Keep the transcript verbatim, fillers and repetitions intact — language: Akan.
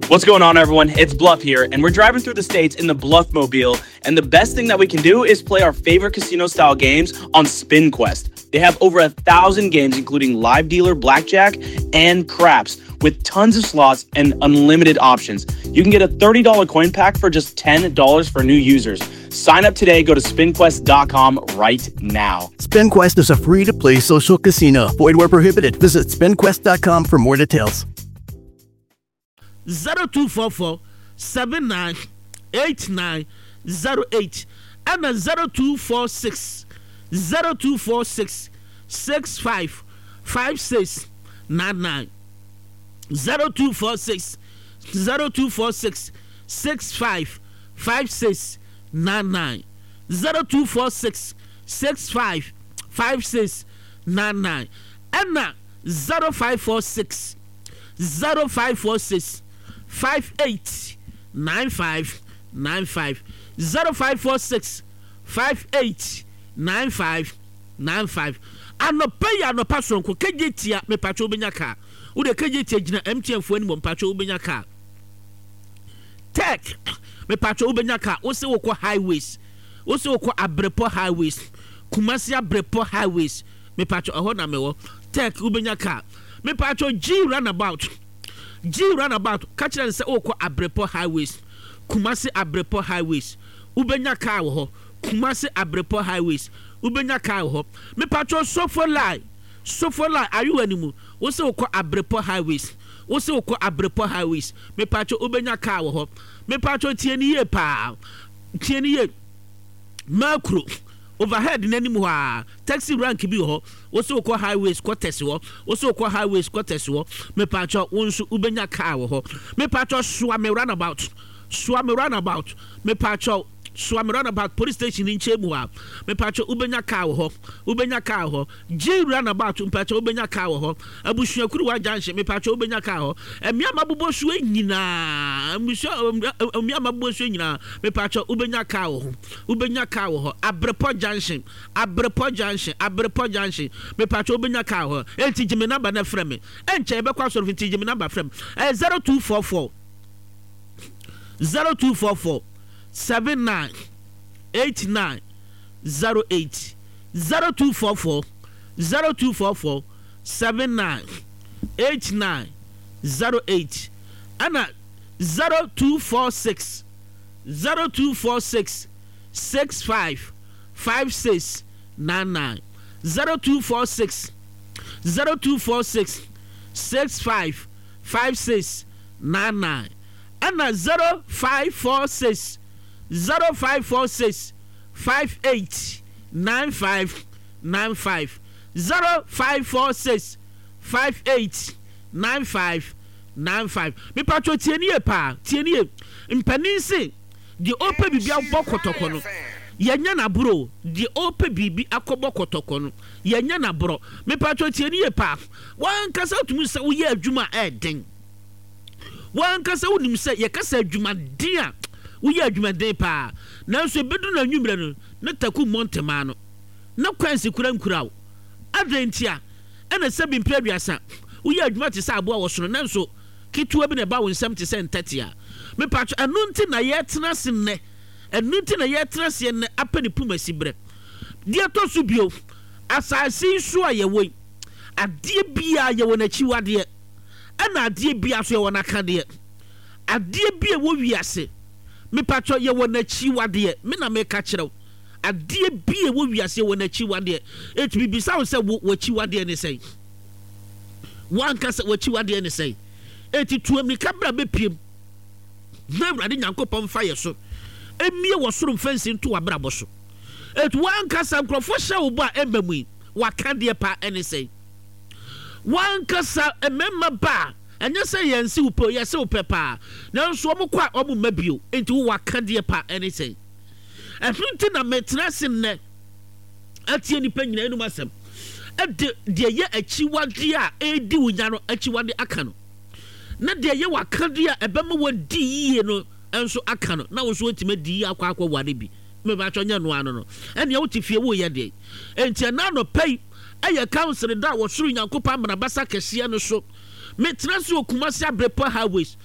What's going on, everyone? It's Bluff here, and we're driving through the states in the Bluff Mobile. And the best thing that we can do is play our favorite casino style games on SpinQuest. They have over a thousand games, including live dealer, blackjack, and craps, with tons of slots and unlimited options. You can get a thirty dollar coin pack for just ten dollars for new users. Sign up today. Go to spinquest dot com right now. SpinQuest is a free to play social casino. Void where prohibited. Visit spinquest dot com for more details. zero two four four seven nine eight nine zero eight ɛna zero two four six zero two four six six five five six nine nine, zero two four six zero two four six six five five six nine nine, zero two four six six five five six nine nine ɛna zero five four six zero five four six five eight nine five nine five, zero five four six five eight nine five nine five. Anɔpa yi, anɔpa soronko, kegye tia mepatwa wobɛnya kaa. Wode kegye tia gyina M T N foɔ anim, mpatwa wobɛnya kaa. Tech, mepatwa wobɛnya kaa. Wose wokɔ Highways, wose wokɔ Abrepɔ Highways, Kumasi Abrepɔ Highways, mepatwa ɛhɔ na mewɔ. Tech, wobɛnya kaa. Mepatwa G Runabout, G Runabout, ka kyerɛ no sɛ wokɔ Abrepɔ Highways, Kumasi Abrepɔ Highways, wobɛnya kaa wɔ hɔ. Kumasi Abrepɔ Highways, wobɛnya kaa wɔ hɔ. Mepatwa Sofo Line, Sofo Line, ayewa no mu, wo sɛ wokɔ Abrepɔ Highways, wo sɛ wokɔ Abrepɔ Highways, mepatwa wobɛnya kaa wɔ hɔ. Mepatwa tie ne yie paa, tie ne yie. Makuro overhead n'anim hɔ a, taxi rank bi wɔ hɔ. Wosɛ wokɔ Highways quarters hɔ, wosɛ wokɔ Highways quarters hɔ, mepatwɛ wo nso wobɛnya kaa wɔ hɔ. Mepatwɛ Soame Runabout, Soame Runabout, mepatwɛ Soame Runabout, police station nkyɛn mu a, mepatwɛ wobɛnya kaa wɔ hɔ, wobɛnya kaa wɔ hɔ. G Runabout, mepatwɛ wobɛnya kaa wɔ hɔ. Abusuakuruwa Junction, mepatwɛ wobɛnya kaa hɔ. Mmea mabobɔ so nyinaa, mmusua mmea mabobɔ so nyinaa, mepatwɛ wobɛnya kaa wɔ hɔ, wobɛnya kaa wɔ hɔ. Abrepɔ Junction, Abrepɔ Junction, Abrepɔ Junction, mepatwɛ wobɛnya kaa wɔ hɔ. Enti gye me number na frɛ me. Ɛnkyɛ yɛbɛkɔ asɔrɔ, nti gye me number frɛ me. Ɛyɛ zero two four four zero two four four seven nine eight nine zero eight, zero two four four zero two four four seven nine eight nine zero eight ɛna zero two four six zero two four six six five five six nine nine, zero two four six zero two four six six five five six nine nine ɛna zero five four six zero five four six five eight nine five nine five, zero five four six five eight nine five nine five. Mipatwo, tie nie paa, tie nie. Mpanin se deɛ ɔpɛ biribi abɔ kɔtɔkɔ no, yɛnyɛ n'aborɔ. Deɛ ɔpɛ biribi akɔbɔ kɔtɔkɔ no, yɛnyɛ n'aborɔ. Mipatwo, tie nie paa. Wankasa tumi sɛ woyɛ adwuma a ɛɛden, wankasa wonim sɛ yɛkasa adwumaden a, woyɛ adwumaden paa, nanso ebedu na anwummerɛ no ne taku mmɔ ntɛmaa no na kwansi kura nkura wo. Adɛn nti a ɛna sɛ bi mpɛ aduasa woyɛ adwuma te sɛ aboa wɔ soro, nanso ketewa bi na ɛba wo nsɛm te sɛ ntɛtea? Mepatwo, ɛno nti na yɛtena ase nnɛ, ɛno nti na yɛtena ase nnɛ apɛ ne puma si berɛ. Deɛ ɛtɔ so bio, asase yi so a yɛwɔ yi, adeɛ biara yɛwɔ n'akyiwadeɛ, ɛna adeɛ biara so yɛwɔ n'akadeɛ. Adeɛ bi a ɛwɔ wiase, mepatwɔ, yɛwɔ n'akyiwadeɛ. Me na meka kyerɛw, adeɛ bi a ɛwɔ wiase yɛwɔ n'akyiwadeɛ. Eti bibisa wo sɛ wo w'akyiwadeɛ ne sɛn? Wankasa w'akyiwadeɛ ne sɛn? Eti tu amirika bra bɛpiem na Awurade Nyankopɔn mfa yɛ so emie wɔ soro mfɛnsi nto w'abrabɔ so. Eti wankasa, nkurɔfoɔ hyɛ wo bɔ a ɛmba mu yi, waka deɛ pa ɛne sɛn? Wankasa, mmarima ba a, ɛnyɛ sɛ yɛn si wo pɛ, yɛsi wo pɛ paa, nanso wɔn kɔ a, wɔn mma bio. Nti wo waka deɛ pa ɛne sɛn? Ɛho nti na mɛtena ase nnɛ atie nipa nyinaa enum asɛm, ɛde deɛ yɛ akyiwadeɛ a ɛredi wo nya no akyiwadeɛ aka no, na deɛ yɛ wakadeɛ a ɛbɛma wɔdi yie no nso aka no, na wo nso wɔtumi adi yie akɔ akɔ ware bi. Mɛbatwɛ nyɛ noa no no ɛnea wote fie woyɛ deɛ. Nti ɛna anɔpɛ yi ɛyɛ council da a wɔsoro Nyankopɔn amanabasa kɛseɛ no so. Metena se wɔ Kumasi Abrepɔ Highways.